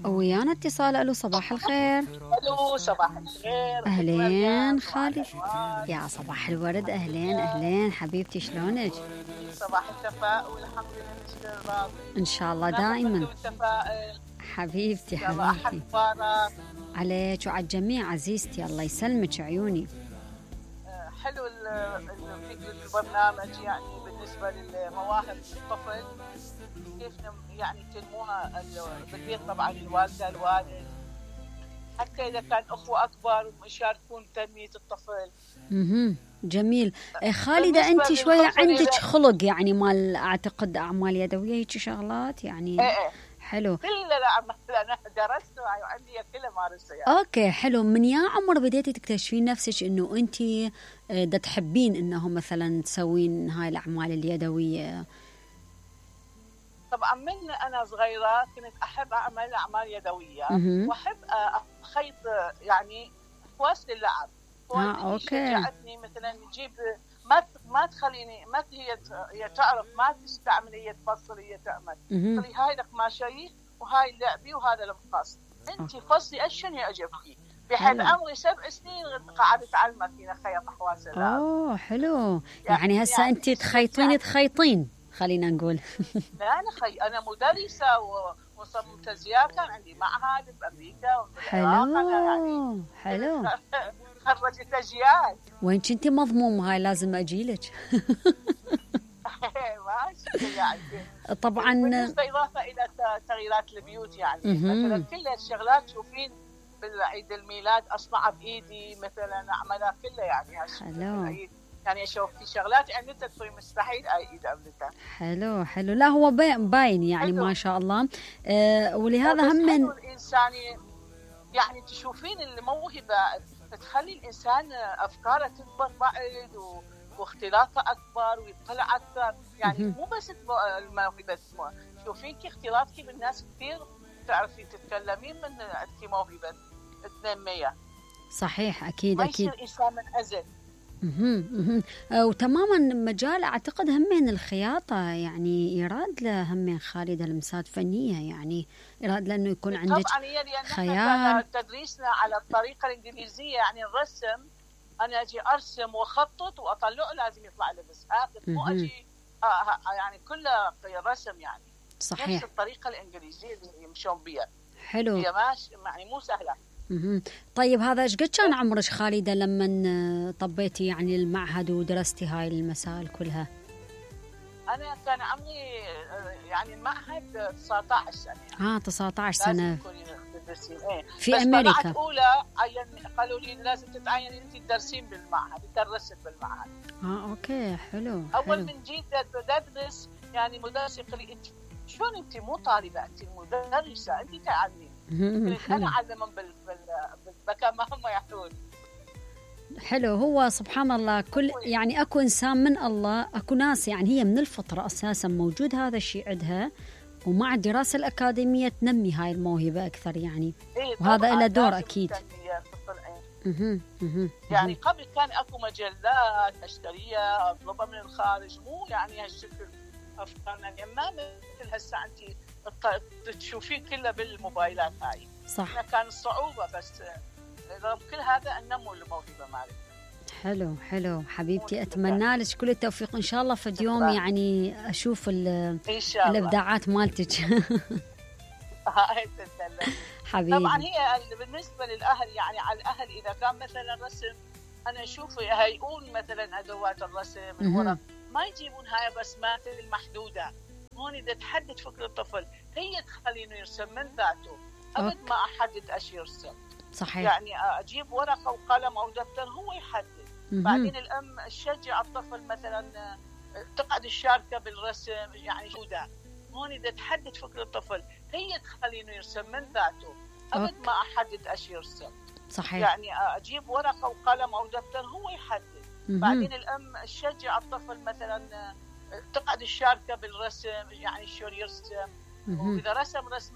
ويانا اتصال. الو صباح الخير. الو صباح الخير. اهلين خالي. يا صباح الورد. اهلين اهلين حبيبتي، شلونك؟ صباح التفاؤل والحمد لله. ان شاء الله دائما حبيبتي حبيبتي. عليك وعلى الجميع عزيزتي، الله يسلمك عيوني. حلو البرنامج، يعني بالنسبه للمواهب الطفل كيف يعني تنموها بالبيت، طبعا الوالده الوالد، حتى اذا كان اخوه اكبر يشاركون تنميه الطفل. جميل. خالده انت شويه عندك خلق يعني مال اعتقد اعمال يدويه هيك شغلات يعني. ايه حلو. كل الاعمال انا درست وعندي كله مارسها يعني. اوكي حلو. من يا عمر بديتي تكتشفين نفسك انه انت دا تحبين انه مثلا تسوين هاي الاعمال اليدويه؟ طبعا من انا صغيره كنت احب اعمل اعمال يدويه واحب اخيط يعني اكواس للعب. اوكي. شجعتني مثلا نجيب ما تخليني، ما هي تعرف ما تستعمل، هي تفصل، هي تعمل تقولي هاي القماشيه وهاي اللعبي وهذا المقص، انت فصلي اشن يعجبك. بحد عمري 7 سنين قاعده اتعلم فينا خيط احواس اللعب. حلو. يعني هسه انت تخيطين خلينا نقول. لا انا مدرسه ومصممه ازياء، كان عندي معهد بامريكا حلو يعني حلو. خرجت اجيال. وين كنتي مضمومه هاي لازم اجيلك. ماشي يعني. طبعا بالنسبه اضافه الى تغييرات البيوت يعني مثلا كل الشغلات تشوفين بالعيد الميلاد اصنعها بايدي مثلا اعملها كلها يعني. حلو. يعني اشوف في شغلات عملتها تقولي مستحيل ايد عملتها. حلو حلو. لا هو باين يعني حلو. ما شاء الله. ولهذا هم من الانسان يعني تشوفين الموهبه تخلي الانسان افكاره تكبر بعد واختلاطه اكبر ويطلع اكثر يعني. مو بس الموهبه، شوفين كي اختلاطك بالناس كثير تعرفي تتكلمين من عندك موهبه تنميها. صحيح اكيد ما اكيد. ما يصير انسان منعزل. وتماما مجال اعتقد همين الخياطه يعني يراد له همين خالده لمسات فنيه يعني يراد له انه يكون عندك طبعا هي لان خيال. تدريسنا على الطريقه الانجليزيه يعني الرسم، انا اجي ارسم واخطط واطلعه لازم يطلع لي بس مو اجي يعني كله رسم يعني. صحيح. نفس الطريقه الانجليزيه اللي يمشون بها. حلو. هي ماشي يعني مو سهله. طيب هذا ايش قد كان عمرك خالده لما طبيتي يعني المعهد ودرستي هاي المسائل كلها؟ انا كان عمري يعني المعهد 19 سنه يعني. 19 سنه في بس امريكا. طلعت اولى قالوا لي لازم تتعيني انت تدرسين بالمعهد، درست بالمعهد. اوكي حلو. اول من جيت ادرس يعني مدرس يقول لي انت شلون انت مو طالبه انت مدرسه انت تعلمين. انا اعلمهم بالمكان ما هم يحتون. حلو. هو سبحان الله كل يعني اكو انسان من الله، اكو ناس يعني هي من الفطره اساسا موجود هذا الشيء عندها، ومع الدراسه الاكاديميه تنمي هاي الموهبه اكثر يعني. وهذا له دور اكيد. يعني قبل كان اكو مجلات اشتريها اطلبها من الخارج، مو يعني هالشكل افكارنا ما مثل هسه انت تشوفين كله بالموبايلات هاي. صح. كان صعوبه بس رغم كل هذا انموا الموهبه مالي. حلو حلو حبيبتي. اتمنى لك كل التوفيق ان شاء الله في يوم يعني اشوف الابداعات مالتك. حبيبي. طبعا هي بالنسبه للاهل يعني على الاهل اذا كان مثلا رسم انا اشوف هيقول مثلا ادوات الرسم الورق ما يجيبون هاي رسمات المحدوده. هون اذا تحدد فكر الطفل هي تخلينه يرسم من ذاته ابد ما احدد ايش يرسم. صحيح. يعني اجيب ورقه وقلم او دفتر هو يحدد. بعدين الام تشجع الطفل مثلا تقعد الشاركه بالرسم يعني جوده. هون اذا تحدد فكر الطفل هي تخلينه يرسم من ذاته ابد ما احدد ايش يرسم. صحيح. يعني اجيب ورقه وقلم او دفتر هو يحدد. بعدين الام تشجع الطفل مثلا تقعد الشاركه بالرسم يعني شلون يرسم. واذا رسم رسمه